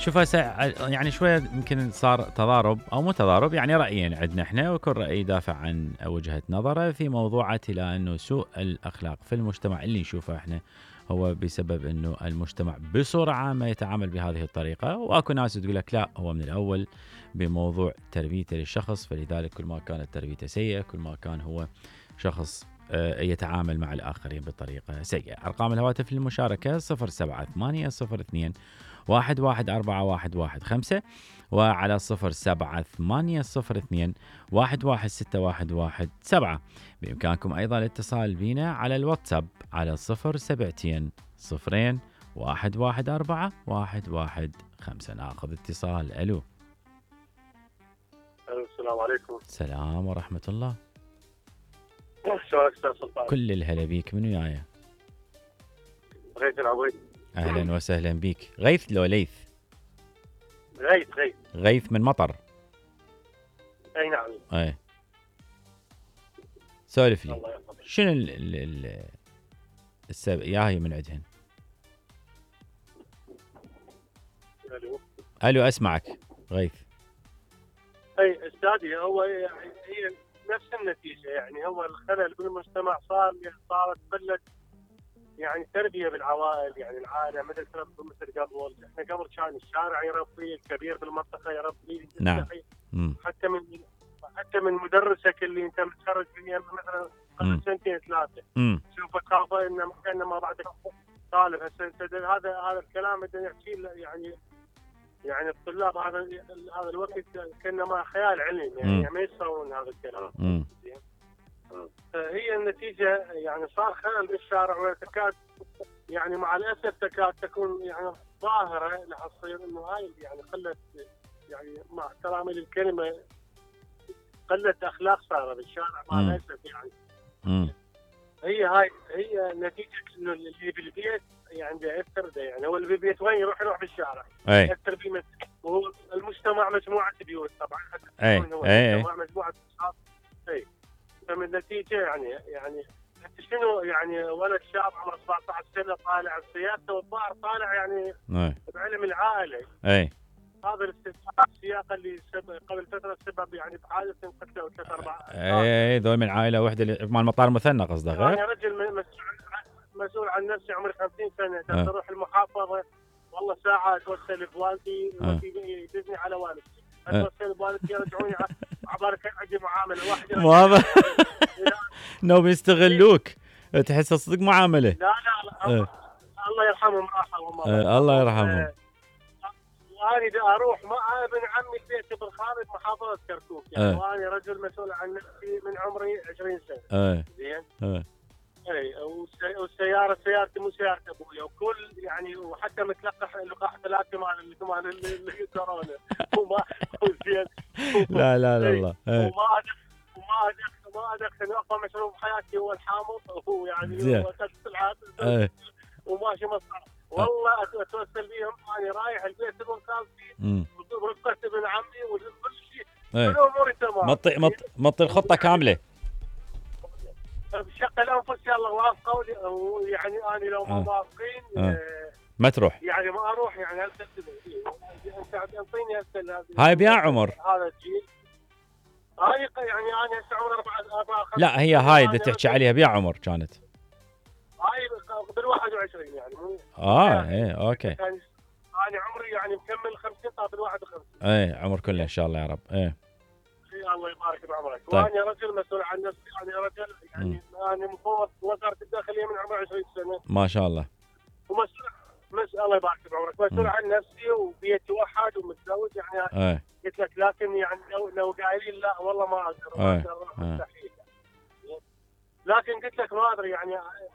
شوف هسه يعني شويه يمكن صار تضارب او مو تضارب، يعني رايين عندنا احنا، وكل راي يدافع عن وجهه نظره في موضوع الى انه سوء الاخلاق في المجتمع اللي نشوفه احنا هو بسبب انه المجتمع بصوره عامه يتعامل بهذه الطريقه، واكو ناس تقول لك لا هو من الاول بموضوع تربيته للشخص، فلذلك كل ما كانت تربيته سيئه كل ما كان هو شخص يتعامل مع الآخرين بطريقة سيئة. أرقام الهواتف للمشاركة 07802 114115 وعلى 07802 1161117. بإمكانكم أيضا الاتصال بنا على الواتساب على 072 0 114 115. ناخذ اتصال. ألو. السلام عليكم. السلام ورحمة الله. شلونك استاذ سلطان؟ كل الهلا بيك. من وياي؟ غيث العويد. اهلا وسهلا بيك. غيث لو ليث؟ غيث. غيث من مطر. اي نعم. اي سولف لي. الله يحفظك. شنو السبب ياهي من عندهن؟ الو اسمعك غيث. اي استاذي، هو يعني هي نفس النتيجه، يعني هو الخلل بالمجتمع صارت قله يعني تربيه بالعوائل، يعني العائله مثل مثل قبل. احنا قبل كان الشارع يربي، الكبير بالمنطقه يربي. نعم. حتى من مدرسك اللي انت متخرج فيه مثلا قبل سنتين ثلاثه شوف خافه انما بعدك طالب. هسه هذا الكلام بدنا نحكي يعني الطلاب هذا الوقت كانما خيال علمي، يعني ما يسوون هذا الكلام. هي النتيجه يعني صار خلل بالشارع، وتكاد يعني مع الاسف تكاد تكون يعني ظاهره راح تصير انه هاي يعني قله، يعني مع احترامي للكلمه قله اخلاق صار بالشارع مع الاسف يعني. هي نتيجه انه اللي بالبيت يعني ياثر، يعني هو اللي بالبيت وين يروح بالشارع ياثر بيه. المجتمع مجموعه بيوت طبعا. المجتمع مجموعه اشخاص. فمن النتيجه يعني انت شنو يعني ولد شاب عمره 17 سنه طالع بسياسته، والظاهر طالع يعني بعلم العائله. هذا السياق اللي قبل فتره سبب يعني بحادث قتلوا 3-4. ذول من عائله واحده مال مطار مثنى قصدك؟ يعني رجل مسؤول عن نفسه، عمري 50 سنه تروح المحافظه والله ساعه توصل بوالدي يدزني على والدتي، اتوصل بوالدتي يرجعوني عبارك عندي معامله واحده. ماما نو يستغلوك، تحس صدق معامله. لا الله يرحمهم. الله يرحمهم. وأنا إذا أروح مع ابن عمي البيت بالخارج محافظة كركوك، يعني وأنا رجل مسؤول عن نفسي من عمري 20 سنة. زين. والسيارة سيارتي مو سيارة أبويا، وكل يعني وحتى متلقح لقاح 3 مال الكورونا. زين. لا الله. وما أدخل أقوى مشروب بحياتي هو الحامض، وهو يعني وكسر العادة وماشي مصنع. والله اتوسل بيهم، انا رايح البيت المنقذ ورفقه ابن عمي وكل شيء، كل اموري تمام. مطي الخطه كامله. بشق الانفس يلا وافقوا، يعني انا لو ما موافقين ما تروح، يعني ما اروح. يعني انت تعطيني هسه هاي بيا عمر هذا الجيل. هاي يعني انا هسه عمري 4 لا هي هاي اللي تحكي عليها بيا عمر كانت هاي بال21 يعني مو اوكي. انا عمري يعني مكمل 50 طاب بال51. عمر كله ان شاء الله يا رب. الله يبارك بعمرك. طيب. وانا رجل مسؤول عن نفسي، انا رجل يعني انا مفوض وزاره الداخليه من عمري 20 سنه ما شاء الله. ومسؤول الله يبارك بعمرك، مسؤول عن نفسي وبيتي وحد ومتزوج يعني. قلت لك لكن يعني لو قايلين لا والله ما اقدر مستحيل. لكن قلت لك ما ادري يعني